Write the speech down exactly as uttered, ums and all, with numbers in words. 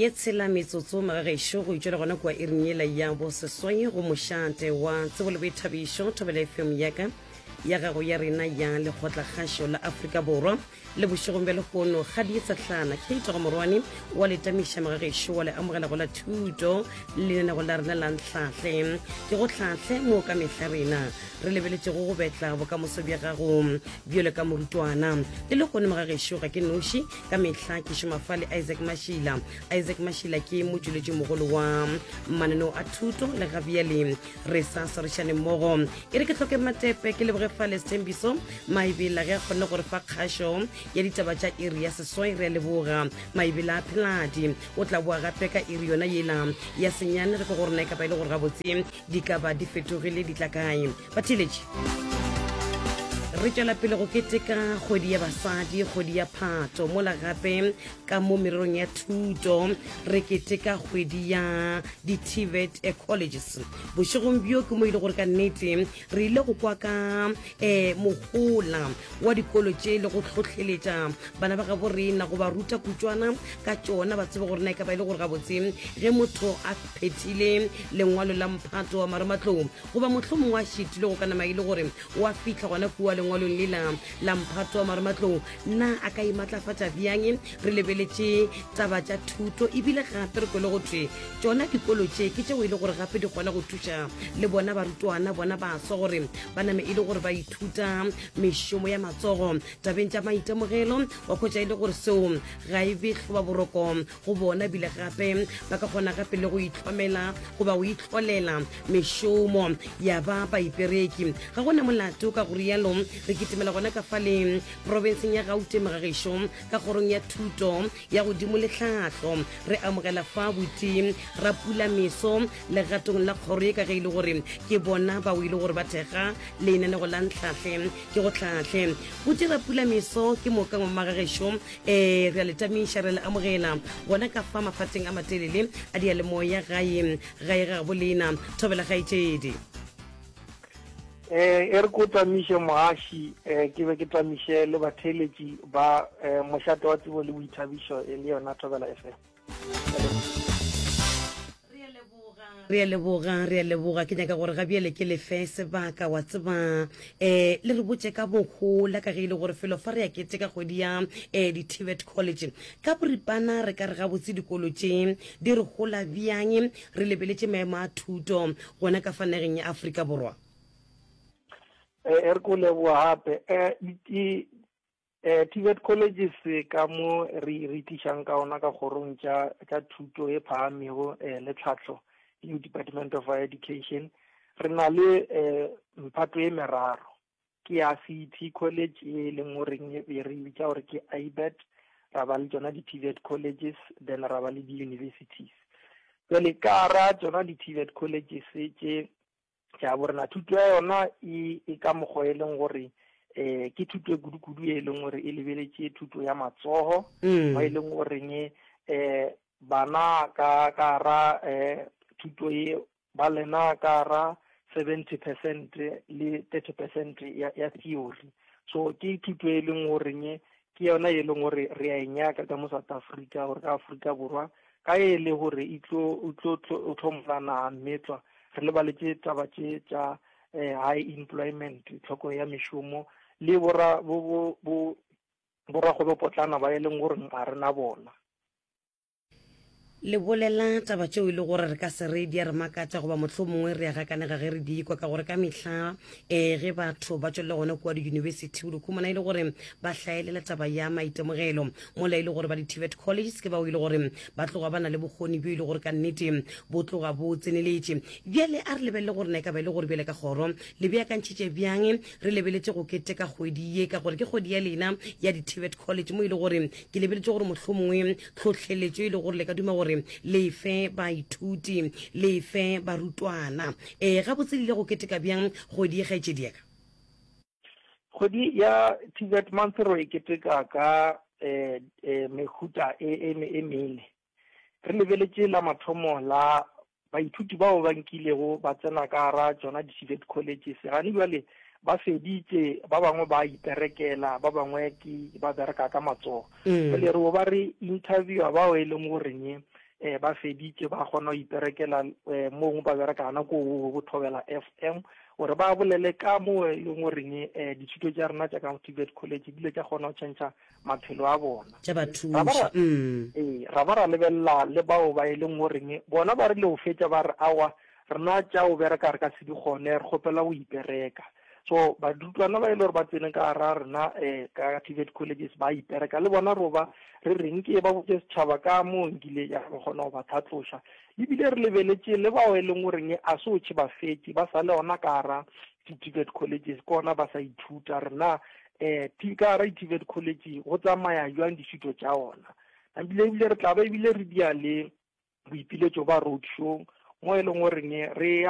Ye tshela metsotso magagešo go itšwela gona kua iring yela ya boseswai go mošate wa tsebo le boithabišo Thobela F M yaka ya gago ya rena ya Lekgotlakgašo la Afrika Borwa. Le bošegong bja lehono kgadi ye tsehlana Kate go morwane wa letamiša magagešo wa le amogela go la thuto lenanego la rena la Ntlhahle ke go hlahle, mo ka mehla rena re lebeletšego go betla bokamoso bja gago bjalo ka morutwana. Le lehono magagešo ga ke noši, ka mehla ke šoma fa le Isaac Mashila. Isaac Mashila ke motšweletši mogolo wa mananeo a thuto le gabjale re sa swarišane mmogo. E re ke hloke matepe ke leboge fa le Sethembiso Maebela ge a kgonne gore fa kgašo ya ditaba tša iri ya seswai. Re a leboga Maebela a Pheladi. O tla boa gape ka iri yona yela ya senyane re ke gore na e kapa e le gore gabotse di ka ba di fetogile di tla kae. Batheeletši, re tšwela pele go keteka kgwedi ya basadi, kgwedi ya Phato, mola gape ka mo mererong ya thuto re keteka kgwedi ya di-T V E T colleges. Bošegong bjo ke mo ile gore ka nnete re ile go kwa ka um mohola wa dikolo tše le go hlohleletša bana ba gabo rena go ba ruta kutšwana ka tšona, ba tsebe gore na e ka ba e le gore gabotse ge motho a phethile lengwalo la mphato wa marematlou goba mohlomongwe a šitile go ka nama e le gore wa fihla gona kua lengwalong lela la mphato wa marematlou, na a ka imatlafatša bjang. Re lebeletše taba tša thuto, ebile gape re kwele go thwe tšona dikolo tše ke tšeo e le gore gape di kgona go thuša le bona barutwana, bona baswa, gore ba name e le gore ba ithuta mešomo ya matsogo tabeng tša maitemogelo, wa kgwetša e le gore seo ga e be hloba boroko go bona, ebile gape ba ka kgona gape le go itlhomela goba go itlholela mešomo ya ba baipereki, ga gona molato. Ka go rialo re kitimela gona ka fale profenseng ya Gauteng magagešo, ka kgorong ya thuto ya godimo le tlhahlo. Re amogela fa buti Rapula Meso legatong la kgoro ye, ka ge e le gore ke bona bao e le gore ba thekga lenanego la Ntlhahle ke go hlahle. Buti Rapula Meso ke moka magagešo, um re a le tamiša, re le amogela gona ka fa mafateng a matelele a dialemoya gae gae ga bolena. Thobela gaetšedi. eh e re ko tamiše moaši, eh ke be ke tamiše le batheeletši ba eh, mošate wa tsebo le boithabišo e le yona Thobela F M. Re a leboga, re a leboga. Ke nyaka gore gabjale ke lefe sebaka wa tseba um le re botse ka bohola, ka ge e le gore felo fa re ya keteka kgwedi ya um di-T V E T college. Ka boripana re ka re gabotse dikolo tše di re hola bjang re lebeletše maemo a thuto gona ka fa nageng ya Afrika Borwa? eh e re ko leboga gape. eh di eh T V E T colleges ka mo re re tlišang ka ona ka kgorong tša tša thuto e phahamego eh le tlhahlo le Department of Higher Education, re na le eh mphato e meraro. Ke ya C E T college e leng goreng e re bitša gore ke ABET, ra ba le tsona di-T V E T colleges, then ra ba le di-universities. Jale ka ra tsona di-T V E T colleges tše tša borena, thuto ya yona e e ka mokgwa e leng gore eh ke thuto e kudu-kudu e leng gore e lebeletše thuto ya matsogo, Mm. mo e leng goreng eh bana ka ka ra eh thuto e ba lena ka ra seventy percent le thirty percent ya, ya theory. So ke thuto e leng goreng ke yona e leng gore re a e nyaka ka mo South Africa, gore ka Afrika Borwa ka e le gore e tlo o tlo o tlhomola naga mmetlwa, re lebaletše taba tše tša eh, high employment, tlhoko ya mešomo le bora bo bo bo borakgwebopotlana ba e leng gore ga re na bona. Le bolela taba tšeo e le gore re ka se re di a re makatša goba mohlomongwe re a gakanega ge re di kwa, ka gore ka mehla um ge batho ba tswelela gona kua di-university o di khumana e le gore ba hlaelela taba ya maitemogelo, mola e le gore ba di-T V E T colleges ke bao e le gore ba tloga ba na le bokgoni bjo e le gore ka nnete bo tloga bo tseneletše. Bjale a re lebelele gore na e ka ba e le gore bjale ka kgoro le beakantšhitše bjang re lebeletše go keteka kgwedi ye, ka gore ke kgwedi ya lena ya di-T V E T college, mo e le gore ke lebeletše gore mohlomongwe tlhohleletšo e le gore le ka duma gore lefe baithuti, lefe barutwana. um gabotse le ile go keteka bjang kgwedi ye, kgaetšedi ya ka? Kgwedi ya T V E T month ro e keteka ka eh, eh, mehuta e, e, e mene. Re lebeletše la mathomo la baithuti bao ba nkilego ba tsena ka gara tsona di-T V E T colleges, gane jwale ba feditše, ba bangwe ba iperekela, ba bangwe ke ba bereka ka matsogo. Mm. Jwale re bo ba re interviewa bao e leng goreng um ba feditše ba kgona go iperekela um mongwe ba bereka gana ko go Thobela F M, gore ba bolele ka mo e leng goreng um dithuto tša rena tša ka T V E T college di ile tša kgona go tšhentšha maphelo a bona. Tša ba Ra ba thuša. ra mm. Ee, ra ba ra lebelela le bao ba e leng goreng bona ba rile go fetša ba re, aowa, rena tša go bereka re ka se di kgone, re kgopela go ipereka. So barutwana ba e le gore ba tsene ka gara rena um ka T V E T colleges ba ipereka le bona, ro ba re reng ke ba botse setšhaba ka mo nkile ya re kgona go ba tlhatloša. Ebile re lebeletše le bao e leng goreng a se otše ba fetše, ba sa le ona ka gara di-T V E T colleges, ke ona ba sa ithuta rena um ka gara di-T V E T college go tsamaya jwang dithuto tša ona. Ebile ebile re tla ba ebile re dia le boipiletšo ba road show mo e leng goreng re ya